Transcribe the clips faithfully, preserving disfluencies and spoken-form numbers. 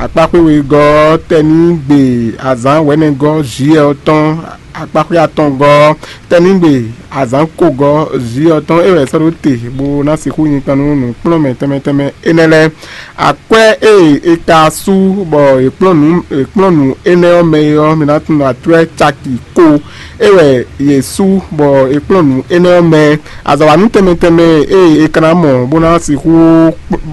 Akpáxwé wegɔ́ ɔ́, tɛ́nígbe azǎn wɛ̌nɛgɔ́ Zyɔ́ɔ tɔn, akpáxwé atɔngɔ́ ɔ́, tɛ́nígbe azǎn kogɔ́ Zyɔ́ɔ tɔn, é wɛ è sɔ́ ɖó te bó ná sixú nyi kpan nú nǔkplɔ́nmɛ tɛnmɛ tɛnmɛ énɛ́ lɛ́ɛ. Akwɛ́ e è ka sú bɔ è kplɔ́n nǔ è kplɔ́n nǔ énɛ́ ɔ́ mɛ é ɔ́, mi ná tunwun akwɛ́ caki ko é wɛ yě sú bɔ è kplɔ́n nǔ énɛ́ ɔ́ mɛ. Azɔ̌wanú tɛnmɛ tɛnmɛ e è ka ná mɔ bó ná sixú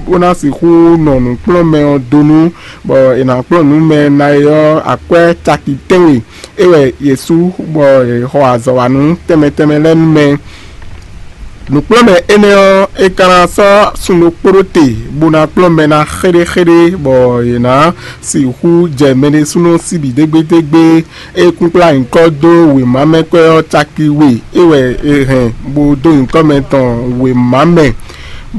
bó ná sixú nɔ nǔkplɔ́nmɛ ɔ́ dó nú bɔ è nǎ kplɔ́n nǔ mɛ ná é ɔ́, akwɛ́ caki tɛ́nwe é wɛ yě sú bɔ è xɔ azɔ̌wanú tɛnmɛ tɛnmɛ lɛ́ɛ nú mɛ. Nǔkplɔ́nmɛ énɛ́ ɔ́, é ka ná sɔ́ sun ɖokpó ɖó te, bó ná kplɔ́n mɛ ná xéɖéxéɖé, bɔ yě ná sixú jɛ mɛ ɖésúnɔ síbi dégbédégbé. É kúnkplá nyǐkɔ dó wěma mɛ kwɛ́ ɔ́ caki we, é wɛ è hɛn bó dó nyǐkɔ mɛ tɔn wěma mɛ,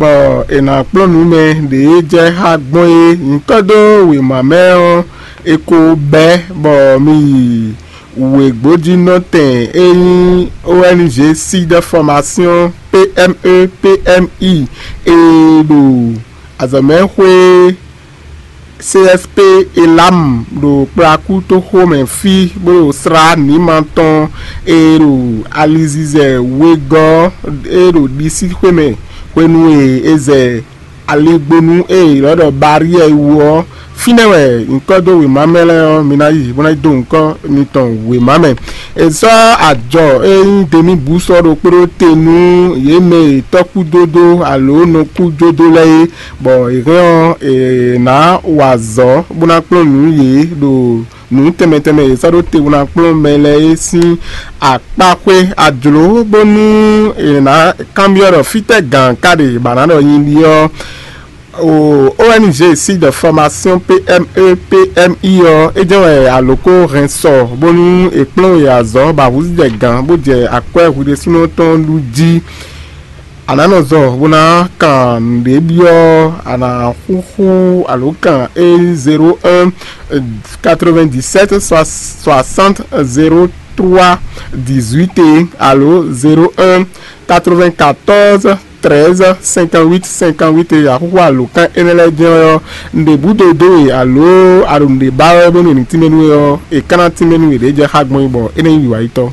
bɔ è nǎ kplɔ́n nǔ mɛ ɖě jɛ xá gbɔn é. Nyǐkɔ dó wěma mɛ ɔ́, è ko bɛ́ bɔ mi yi wěgbójínɔtɛn e nyí O N G Sud Formation P M E P M I e ɖo azɔ̌mɛxwé C S P Elam ɖo Kplakútoxo mɛ fí, bó ɖo slá nǐma tɔn e ɖo alizizɛ wegɔ́ e ɖo ɖisíxwé mɛ hwenu e è zɛ aligbonu e è ylɔ́ ɖɔ Baryɛ́ɛ wú ɔ́. Fínɛ́ wɛ nyǐkɔ dó wěma mɛ lɛ́ɛ ɔ́, mi ná yi bó ná yi dó nyǐkɔ mitɔn wěma mɛ. È sɔ́ ajɔ e nyí demi bǔ sɔ́ ɖokpó ɖó te nú yě mɛ e tɔ́kúdódó alo nɔkújódó lɛ́ɛ é, bɔ è hɛn ɔ́, è nǎ wa azɔ̌ bó ná kplɔ́n nǔ yě ɖo nǔ tɛnmɛ tɛnmɛ e è sɔ́ ɖó te bó ná kplɔ́n mɛ lɛ́ɛ é sín akpáxwé ajlǒ, bónú è nǎ kanbyɔ́ ɖɔ fítɛ́ gǎn ka ɖe bɔ a nǎ ɖɔ nyi ɖi ɔ́. O N G Sud Formation P M E P M I ɔ́, é jɛ́n wɛ alǒ ko hɛn sɔ bónú è kplɔ́n we azɔ̌ bɔ ahǔzú jɛ gǎn bó jɛ akwɛ́ hwi ɖésúnɔ tɔn ɖu jí. A nǎ nɔ zɔ bó ná kan nǔɖé byɔ́, a nǎ xúxú alǒkan e zéro un quatre-vingt-dix-sept soixante zéro trois dix-huit alo zéro un quatre-vingt-quatorze treize cinquante-huit cinquante-huit e axúxú alǒkan énɛ́ lɛ́ɛ jɛ́n ɔ́, nǔɖé búdo dó we alo a ɖo nǔɖé ba wɛ bónú è ní tínmɛ nú we ɔ́, è ka ná tínmɛ nú we ɖě jɛ xá gbɔn é bɔ é ná nyí wiwa yítɔ́.